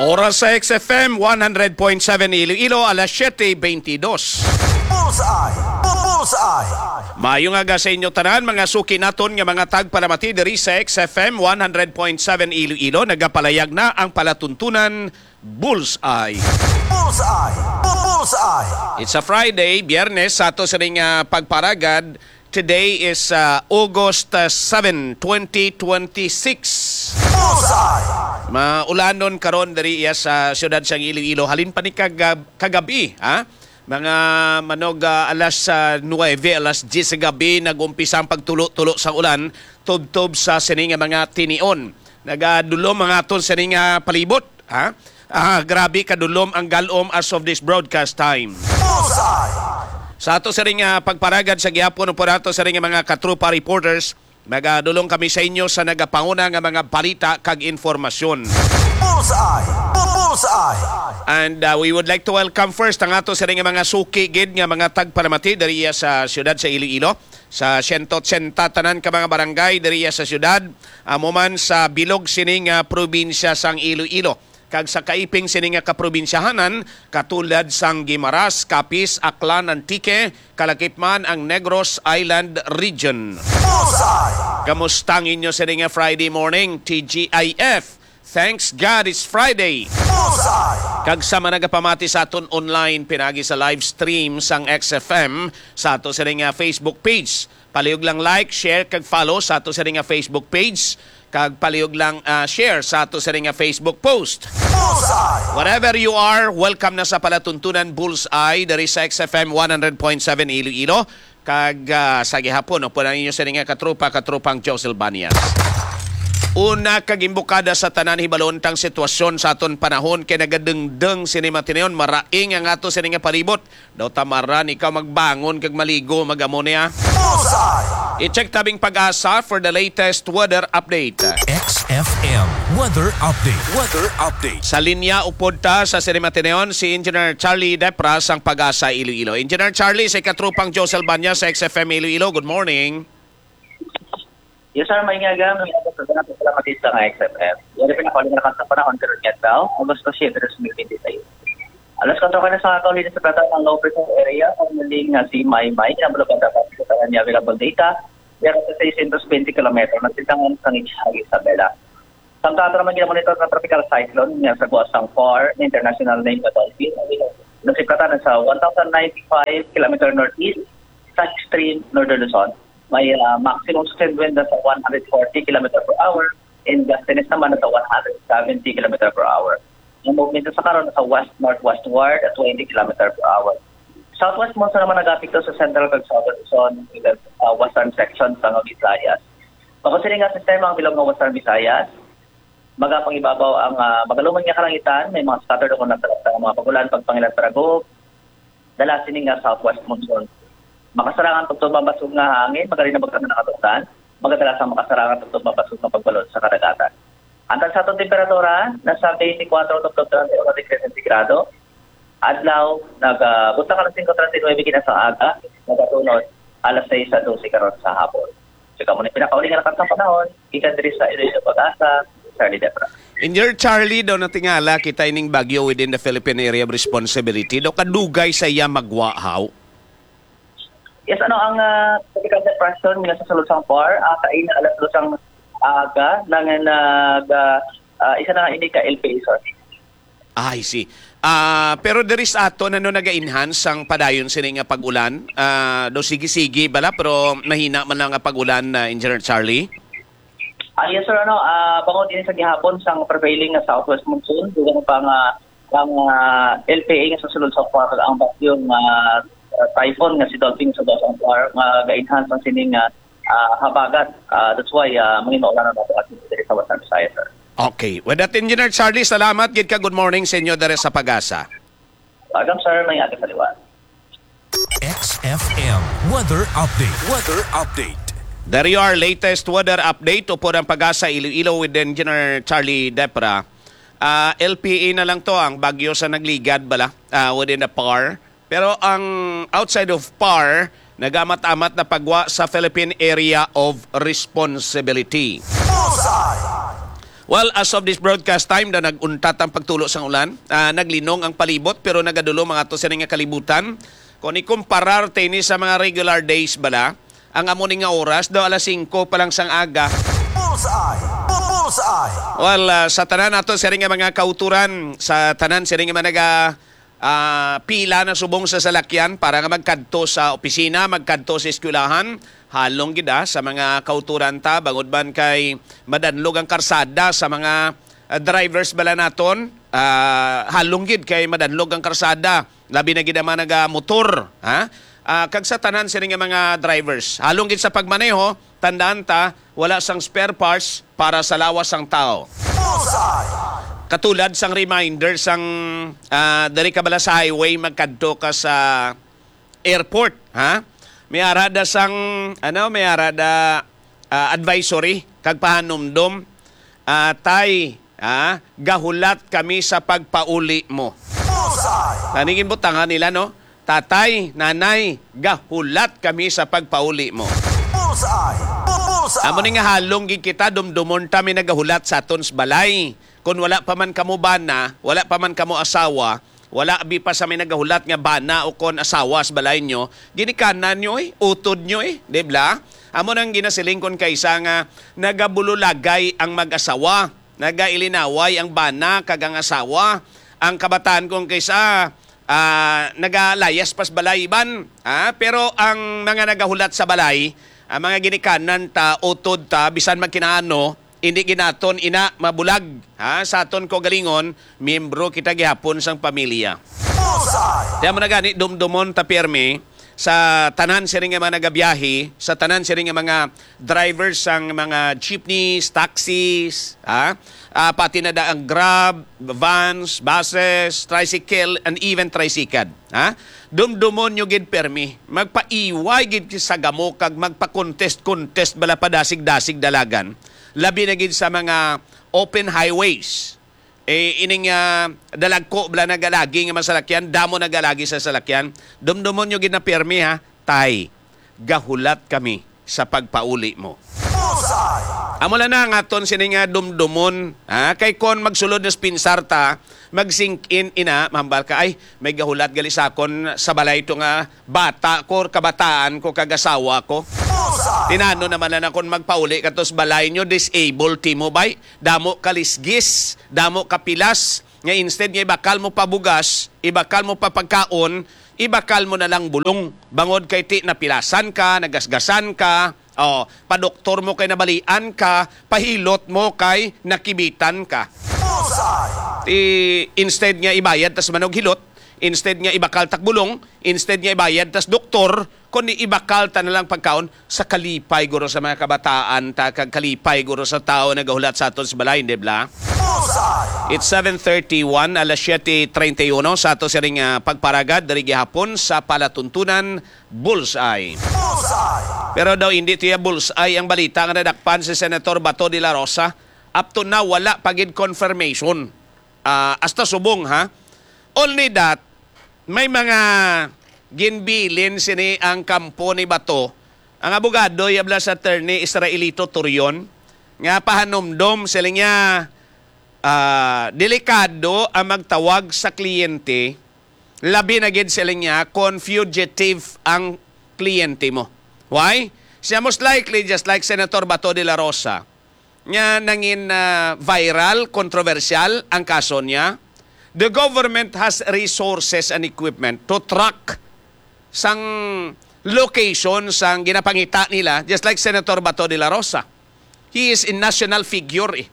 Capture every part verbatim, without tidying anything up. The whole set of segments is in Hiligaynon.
Oras sa X F M one hundred point seven Iloilo, alas siyete beintidos. Bullseye! Bu- Bullseye! Maayong aga sa inyo tanan, mga suki naton nga mga tagpalamati diri sa X F M one hundred point seven Iloilo. Nagapalayag na ang palatuntunan Bullseye. Bullseye! Bu- Bullseye! It's a Friday, Biyernes, sa ato sining, ah, pagparagad. Today is, ah, August, ah, seven, twenty twenty-six. Bullseye! Maulanon karon diri iya sa siyudad sang Iloilo. Halin pa ni kagab-, kagabi, ha? Mga manog, ah, alas, ah, nuwebe, alas diyes sa gabi, nag-umpisa ang pagtulo-tulo sa ulan, tubtob sa sini nga mga tinion. Nagadulom ang aton sini nga palibot, ha? Ah, grabe kadulom ang galom as of this broadcast time. Bullseye! Sa ato sining, ah, pagparagad sa gihapon, upod ato sining mga katropa reporters, magadulong kami sa inyo sa nagapanguna nga mga balita kag informasyon. Bullseye! Bu- Bullseye! And, uh, we would like to welcome first ang ato sining mga suki gid nga mga tagpalamati diri sa siyudad sa Iloilo, sa siyento otsenta tanan ka mga barangay diri sa siyudad, amo man sa bilog sini nga probinsya sang Iloilo kag sa kaiping sini nga kaprobinsyahanan, katulad sang Guimaras, Capiz, Aklan, Antique, kalakip man ang Negros Island Region. Bullseye! Kamusta ang inyo sini nga Friday morning, T G I F? Thanks God it's Friday. Bullseye! Kag sa mga nagapamati sa aton online pinagi sa live stream sang X F M sa ato sini nga Facebook page. Palihog lang like, share, kag follow sa ato sini nga Facebook page. Kag palihog lang, ah, share sa ato sini nga Facebook post. Bullseye! Wherever you are, welcome na sa palatuntunan Bullseye diri sa X F M one hundred point seven Iloilo. Kag, ah, sa gihapon, upod ang inyo sini nga katropa, katropang Josel Banyas. Una kag imbukada sa tanan, hibalon tang sitwasyon sa aton panahon kay nagadengdeng sini matinuon, maraing ang ato sini nga palibot. Daw tamaran ikaw magbangon kag maligo, mag-amo niya. Bullseye! I-check tabing Pag-asa for the latest weather update. X F M weather update. Weather update. Sa linya upod ta sa sini matinuon si Engineer Charlie Depra sang Pag-asa Iloilo. Engineer Charlie, sa ikatropang Josel Banya sa X F M Iloilo. Good morning. Yes, sir. May nga aga, may nga aga sa mga pagkalamatid sa nga X F M. Yari pa na, kauli na sa panahon, pero niya daw, Agosto siyete, dos mil binte y seis. Alas kuwatro ka na sa kauli sa plata ng low pressure area, ang muling nga si Maymay, na bulabada pa sa kanya available data, yari sa seiscientos twenty kilometro, nagsitangan sa Isabela. Samtang ato naman ginamonitor nga tropical cyclone nga sa buwas sang PAR, international name nga Dolphin, ang nasiplatan na sa one thousand ninety-five kilometer northeast sa extreme northern Luzon. May, ah, maximum sustained wind na sa one hundred forty kilometer per hour and gustiness naman na sa one hundred seventy kilometer per hour. Ang movement sa karon sa west-northwestward at twenty kilometer per hour. Southwest monsoon naman nag-apekto sa central kag southern Luzon, uh, western section sa Visayas. Bako sini nga sistema ang bilog nga Western Visayas, magapangibabaw ang, ah, magaluman nga kalangitan, may mga scattered o kung nagtalagtang mga pagulan, pagpangilan para guhob, dala sini nga southwest monsoon. Makasarangan tubtob ang basog nga hangin, magarin na magkano nakatungdan, magadala sa makasarangan tubtob ang basog nga pagbalod sa kadagatan. Ang tag sa atong temperatura, nasa twenty-four tubtob treinta y uno degrees centigrado. Adlaw, nag, ah, buntag alas singko treinta y nuebe kina sa aga, nagatunod alas sais sa dose karon sa hapon. So, kamo ni pinakauli nga lakat sa panahon, gikan diri sa Iloilo Pag-asa, Charlie Depra. Engineer Charlie, daw natingala kita ining bagyo within the Philippine Area of Responsibility. Daw kadugay sa iya magwa, haw? Yes, ano ang, ah, tropical depression nga sa sulod sang PAR, ah, kaina alas dos ang aga, nang nag, ah, ah, isa na nga ini ka L P A, sir. I see. Ah, pero diri sa aton, ano, naga-enhance ang padayon sini nga pag-ulan? Ah, do sige-sige bala, pero mahina man lang ang pag-ulan, ah, Engineer Charlie? Ah, yes, sir. Ano, ah, bangod din sa gihapon sang prevailing nga southwest monsoon, dugang pa nga ang, ah, L P A nga sa sulod sa PAR, ang bagyong, ah, typhoon nga si Dolphin sa Dosang PAR, nga ga-enhance ang sining, ah, ah, habagat. Ah, that's why, ah, mangin maulan ang ato diri sa Western Visayas, sir. Okay. With that, Engineer Charlie, salamat gid ka. Good morning sa inyo diri sa Pag-asa. Welcome, sir. May aga sa liwan. X F M weather update. Weather update. There you are, latest weather update upod ang Pag-asa Iloilo with Engineer Charlie Depra. Ah, L P A na lang to ang bagyo sa nagligad bala, ah, within the PAR. Pero ang outside of PAR, nagamat-amat na pagwa sa Philippine Area of Responsibility. Bullseye! Well, as of this broadcast time, na nag-untat ang pagtulo sang ulan. Ah, naglinong ang palibot, pero nagadulo mga to sini nga kalibutan. Kung ikumparar tini sa mga regular days bala, ang amo ni nga oras daw alas singko pa lang sang aga. Bullseye! Bu- Bullseye! Well, ah, sa tanan nato sini nga mga kauturan, sa tanan sini nga mga naga ah, pila na subong sa salakyan para nga magkadto sa opisina, magkadto sa eskwelahan. Halong gid, ah, sa mga kauturan ta, bangod man kay madanlog ang karsada sa mga, ah, drivers bala naton. Ah, halong gid kay madanlog ang karsada, labi na gid ang mga nagamotor, ha? Ah, kag sa tanan sini nga mga drivers, halong gid sa pagmaneho, tandaan ta, wala sang spare parts para sa lawas sang tao. Bullseye! Katulad sang reminder sang, ah, diri ka bala sa highway, magkadto ka sa airport, ha? May ara da sang, ano, may ara da, ah, advisory kag pahanumdom. Ah, tay, ha? Gahulat kami sa pagpauli mo. Bullseye! Taningin butangan nila, no? Tatay, nanay, gahulat kami sa pagpauli mo. Bullseye! Bu- Bullseye! Amo ni nga halong gid kita, dumdumon ta may nagahulat sa aton sa balay. Kung wala pa man kamo bana, wala pa man kamo asawa, wala abi pa sa may nagahulat nga bana o kon asawa sa balay nyo, ginikanan nyo eh, utod nyo eh, di bla? Amo nang ginasiling kon kaisa nga nagabululagay ang mag-asawa, nagailinaway ang bana kag ang asawa, ang kabataan kon kaisa ah, nagalayas pas balay iban, ah, pero ang mga nagahulat sa balay, ang mga ginikanan ta, utod ta, bisan magkinaano, hindi ginaton ina mabulag, ha? Sa aton kaugalingon, miyembro kita gihapon sang pamilya. Bullseye! Kaya mo na gani, dumdumon ta pirmi sa tanan sini nga mga nagabiyahe, sa tanan sini nga mga drivers sang mga jeepneys, taxis, ha? Ah, pati na da ang Grab, vans, buses, tricycle, and even tricycad. Ha? Dumdumon nyo gid permi. Magpaiway gid sa gamo kag magpa-contest-contest bala padasig-dasig dalagan. Labi na gid sa mga open highways. Eh, ining, ah, dalagko bala nagalagi nga masalakyan, damo nagalagi sa salakyan. Dumdumon nyo gid na permi, ha? Tay, gahulat kami sa pagpauli mo. Bullseye! Amo lang na ang aton sini nga dumdumon, ha? Kay kon magsulod na sa pinsar ta, mag-sink in ina, mahambal ka, "Ay, may gahulat gali sa akon sa balay to nga bata ko, or kabataan ko, kag asawa ko." Bullseye! Tinano naman na kon magpauli ka to sa balay nyo, disabled ti mo, bay? Damo ka lisgis, damo ka pilas, nga instead nga ibakal mo pa bugas, ibakal mo pa pagkaon, ibakal mo na lang bulong. Bangod kay ti napilasan ka, nagasgasan ka, oh, padoktor mo kay nabalian ka, pahilot mo kay nakibitan ka. Bullseye! Ti, instead nga ibayad tas manog hilot, instead nga ibakal tak bulong, instead nga ibayad tas doktor, kundi ibakal ta na lang pagkaon sa kalipay guro sa mga kabataan ta, kag kalipay guro sa tawo nagahulat sa aton sa balay, di bla? Bullseye! It's seven thirty-one, alas siyete treinta y uno sa ato siring nga pagparagad diri gihapon sa palatuntunan, Bullseye. Bullseye! Pero daw hindi tiya bullseye ang balita nga nadakpan si Senator Bato de la Rosa. Up to now, wala pa gid confirmation. Ah, hasta subong, ha? Only that, may mga ginbilin sini ang kampo ni Bato. Ang abogado, yabla sa attorney Israelito Torion, nga pahanumdom sila niya, ah, delikado ang magtawag sa kliyente, labi na gid sila niya kung fugitive ang kliyente mo. Why? Siya most likely, just like Senator Bato de la Rosa, nga nangin, ah, viral, kontrobersyal ang kaso niya. The government has resources and equipment to track sang location sang ginapangita nila, just like Senator Bato de la Rosa. He is a national figure, eh.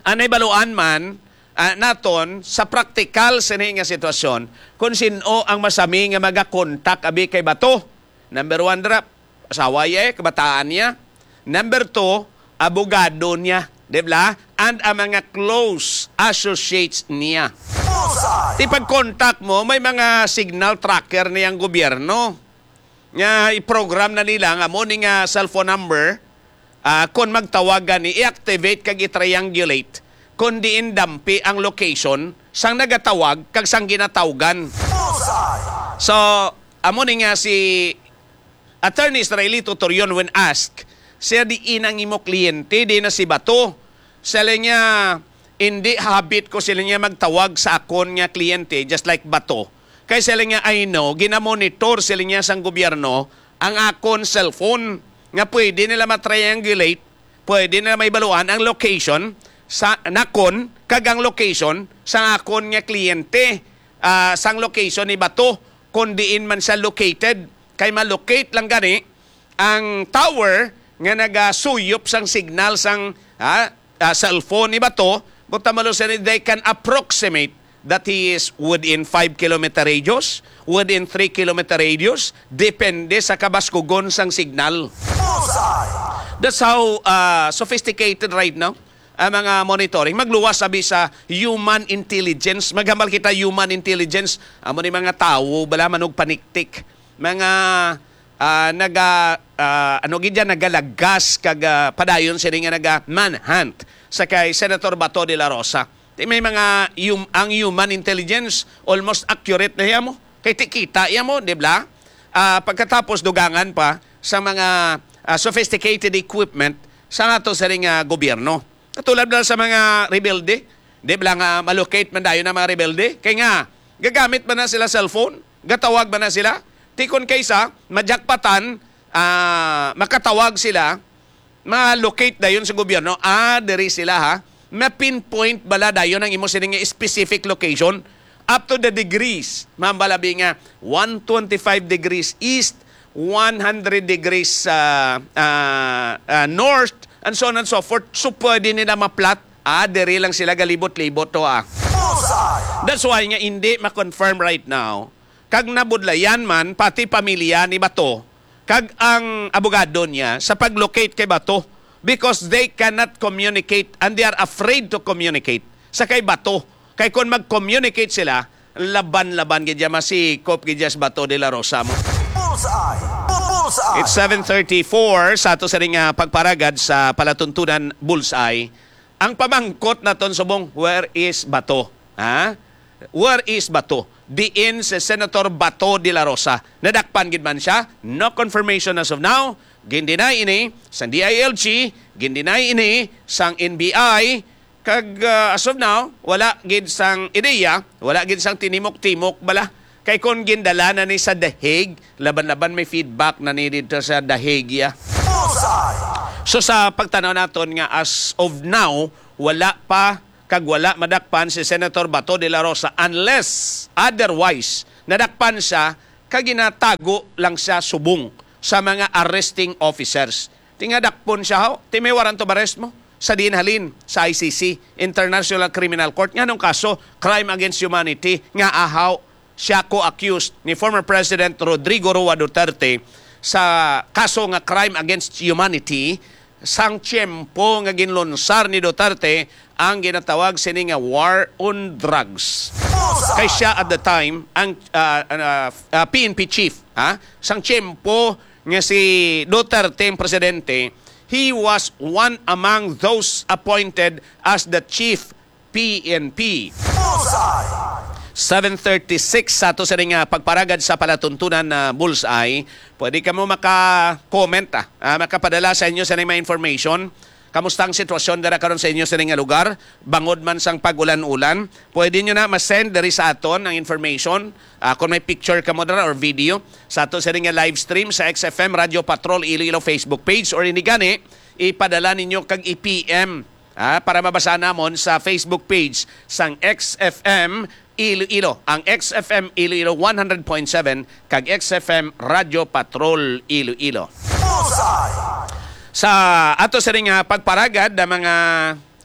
Anay baluan man, ah, naton sa praktikal sini nga sitwasyon kung sin-o ang masami nga magakontak abi kay Bato. Number one, dira, asawa niya, eh, kabataan niya. Number two, abogado niya, di ba? And ang mga close associates niya. Bullseye! Ti pag-contact mo, may mga signal tracker niyang gobyerno. Nga i-program na nila nga mo ni nga cellphone number, ah, kon magtawag gani, i-activate kag i-triangulate kon diin dampi ang location sang nagatawag kag sang ginatawgan. Bullseye! So, amo ni nga si Attorney Israelito Torion when asked, siya, "Diin ang imo kliyente, di na si Bato?" Sila niya, "Hindi habit ko," sila niya, "magtawag sa akon nga kliyente, just like Bato. Kay sila niya, I know, ginamonitor sila niya sang gobyerno ang akon cellphone nga pwede nila ma-triangulate, pwede nila maibaluan ang location sa nakon kag ang location sa akon nga kliyente, ah, sang location ni Bato, kung diin man siya located. Kay ma-locate lang gani ang tower nga nagasuyop sang signal sang, ah, ah, cellphone ni Bato, buta malo sila, they can approximate that he is within five kilometer radius, within three kilometer radius, depende sa kabaskugon sang signal. Bullseye! That's how, ah, sophisticated right now ang mga monitoring. Magluwas abi sa human intelligence. Maghambal kita human intelligence. Amo ni mga tawo, bala, manugpaniktik. Mga, ah, naga, ah, ano gid yan, nagalagas kag, ah, padayon sini nga naga manhunt sa kay Senator Bato de la Rosa. Ti may mga hum-, ang human intelligence almost accurate na hiya mo. Kay ti kita iya mo, di ba? Ah, pagkatapos dugangan pa sa mga, ah, sophisticated equipment sa ato sa ring, ah, gobyerno. Katulad na sa mga rebelde, di ba nga malocate man dayon ang mga rebelde? Kay nga, gagamit man na sila cellphone, gatawag man na sila. Tikon kaysa, majakpatan, ah, makatawag sila, ma-locate dayon sa gobyerno, ah, diri sila, ha? Ma-pinpoint bala dayon ang imo sining nga specific location up to the degrees. Mambalabi nga one twenty-five degrees east, one hundred degrees, ah, ah, ah, north, and so on and so forth. So, pwede nila ma-plot, ah, diri lang sila galibot-libot to, ah. Bullseye! That's why nga hindi ma-confirm right now kag nabudlayan man pati pamilya ni Bato kag ang abogado niya sa pag-locate kay Bato, because they cannot communicate and they are afraid to communicate sa kay Bato. Kay kon mag-communicate sila, laban-laban gid ya, masikop gid ya si Bato de la Rosa mo. Bullseye! Bullseye! It's seven thirty-four sa ato sa ring, ah, pagparagad sa palatuntunan Bullseye. Ang pamangkot naton subong, where is Bato? Ha? Where is Bato? Diin si Senator Bato de la Rosa? Nadakpan gid man siya? No confirmation as of now. Gin-deny ini sang D I L G, gin-deny ini sang N B I, kag, ah, as of now, wala gid sang ideya, wala gid sang tinimok-timok bala. Kay kon gindala na ni sa The Hague, laban-laban may feedback na ni dito sa The Hague, ya. Bullseye! So, sa pagtanaw naton nga as of now, wala pa kag wala madakpan si Senator Bato de la Rosa, unless otherwise nadakpan siya kag ginatago lang siya subong sa mga arresting officers. Ti nga dakpon siya, ho? Ti may warrant of arrest mo? Sa diin halin? Sa I C C, International Criminal Court. Nganong kaso? Crime against humanity. Nga ahaw siya co-accused ni former President Rodrigo Roa Duterte sa kaso nga crime against humanity sang tiyempo nga ginlunsar ni Duterte ang ginatawag sini nga war on drugs. Bullseye! Kay siya at the time ang, ah, ah, ah, P N P chief, ha? Sang tiyempo nga si Duterte ang presidente, he was one among those appointed as the chief P N P. Bullseye! Seven thirty-six sa ato sa ring, ah, pagparagad sa palatuntunan na Bullseye. Pwede kamo maka-comment, ah, ah, makapadala sa inyo sa mga information. Kamusta ang sitwasyon dira karon sa inyo sa ring nga lugar? Bangod man sang pag-ulan-ulan, pwede nyo na ma-send diri sa aton ang information. Ah, kung may picture kamo dira or video, sa ato sa ring nga live stream sa X F M Radio Patrol Iloilo Facebook page, or ini gani, ipadala ninyo kag i-P M, ah, para mabasa namon sa Facebook page sang X F M Iloilo, ang X F M Iloilo one hundred point seven kag X F M Radio Patrol Iloilo. Bullseye! Sa ato sini nga pagparagad, ang mga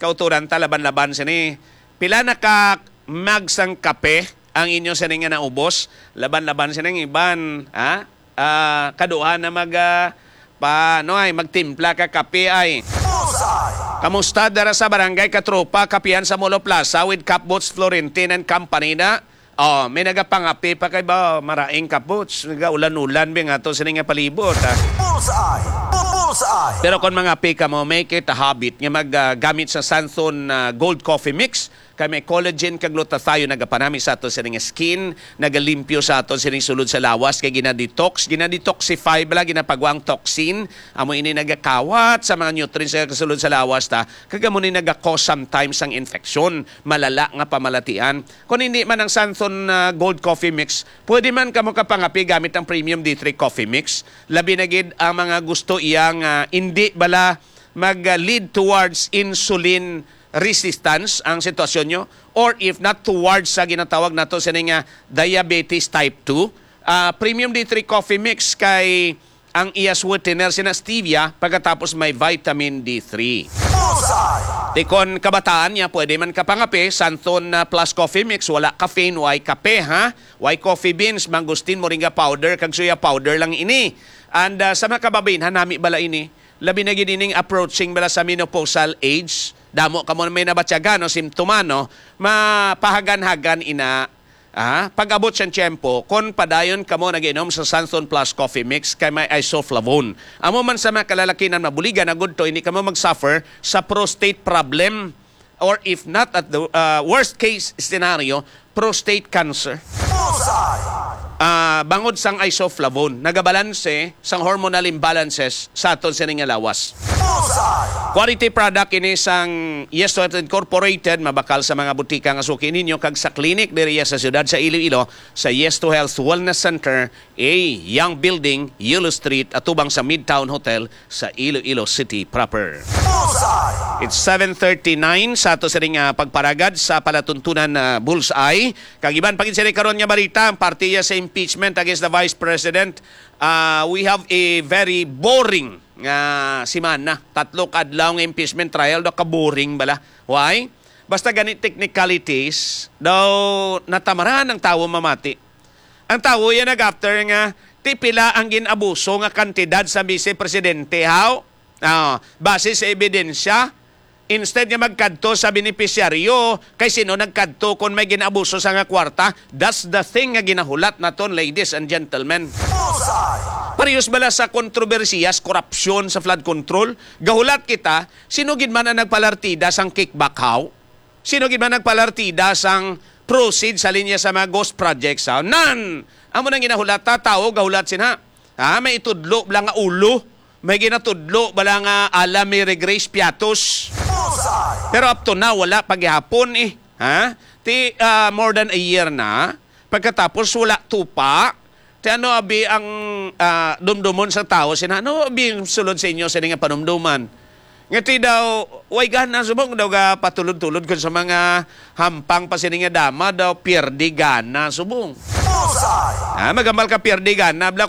kauturan ta laban-laban sini, pila na ka mug sang kape ang inyo sini nga naubos? Laban-laban sini ang iban, ha? Ah, kaduha na mag, ah, pa, ano ay, magtimpla ka kape ay. Bullseye! Kamusta dara sa Barangay Katropa, Kapihan sa Molo Plaza with Capbots Florentine and Company na? Oh, may nagapangape pa kay ba, maraing Capbots. Nagaulan-ulan bi nga to sini nga palibot, ha? Bullseye! Bu-, bullseye! Pero kung mangape ka mo, make it a habit nga mag, ah, gamit sa Santhon, ah, Gold Coffee Mix. Kay may collagen kag glutathione nagapanami sa ato sining skin, nagalimpyo sa ato sining sulod sa lawas, kay gina-detox, gina-detoxify bala, ginapagwa ang toxin. Amo ini nagakawat sa mga nutrients sa sulod sa lawas ta, kag amo ni nagakos sometimes ang infection, malala nga pamalatian. Kung hindi man ang Santon, ah, Gold Coffee Mix, pwede man kamo kapangapi gamit ang Premium D three Coffee Mix. Labi na gid ang mga gusto iyang, ah, hindi bala mag-, ah, lead towards insulin resistance ang sitwasyon nyo, or if not, towards sa ginatawag nato sini nga diabetes type two. Ah, Premium D three Coffee Mix kay ang iya sweetener sina stevia, pagkatapos may vitamin D three. Bullseye! Tikon kabataan niya, pwede man kapangape, Santon, ah, Plus Coffee Mix, wala caffeine, way kape, ha? Way coffee beans, mangosteen, moringa powder, kag soya powder lang ini. And, ah, sa mga kababainhan, nami bala ini. Labi na gid ining approaching bala sa menopausal age. Damo kamo may nabatyagan o simptoma, no? Mapahagan-hagan ina. Ah, pag-abot siyang tiyempo, kon padayon kamo nag-inom sa Sanson Plus Coffee Mix kay may isoflavone. Amo man sa mga kalalakinan mabuligan na gudto, hindi kamo mag-suffer sa prostate problem, or if not, at the, ah, worst case scenario, prostate cancer. Bullseye! Ah, bangod sang isoflavone, nagabalanse sang hormonal imbalances sa aton sini nga lawas. Bullseye! Quality product ini sang Yes to Health Incorporated, mabakal sa mga butika nga suki ninyo kag sa clinic diri sa siyudad sa Iloilo, sa Yes to Health Wellness Center, A, Young Building, Yellow Street, atubang sa Midtown Hotel sa Iloilo City proper. Bullseye! It's seven thirty-nine sa ato sining, ah, pagparagad sa palatuntunan, ah, Bullseye. Kag iban pa gid sini karon nga balita, ang parte iya sa impeachment against the Vice President. Ah, we have a very boring nga semana. Tatlo ka adlaw nga impeachment trial, daw ka boring bala. Why? Basta gani technicalities, daw natamaran ang tawo mamati. Ang tawo yan nag-after nga, ti pila ang gin-abuso nga kantidad sa Vice Presidente, how? Ah, base sa ebidensya, instead nga magkadto sa benepisyaryo, kay sino nagkadto kon may gin-abuso sa nga kwarta? That's the thing nga ginahulat naton, ladies and gentlemen. Bullseye! Parehas bala sa kontrobersiya sa korupsyon sa flood control, gahulat kita, sino gid man ang nagpalartida sang kickback, how? Sino gid man nagpalartida sang proceed sa linya sa mga ghost projects, ha? Nan! Amo nang ginahulata, tawo gahulat sina. Ha? May itudlo bala nga ulo. May ginatudlo bala nga ala Mary Grace Piatos. Bullseye! Pero up to now, wala pa gihapon eh. Ha? Ti, ah, more than a year na. Pagkatapos, wala tupa. Ti ano abi ang, ah, dumdumon sa tawo? Sina, ano abi ang sulod sa inyo sa nga panumduman? Nga ti daw, way gana subong daw ga patulod-tulod kun sa mga hampang pa sini nga dama daw, pierde gana subong. Bullseye! Ah, magamal ka pierde gana, bla,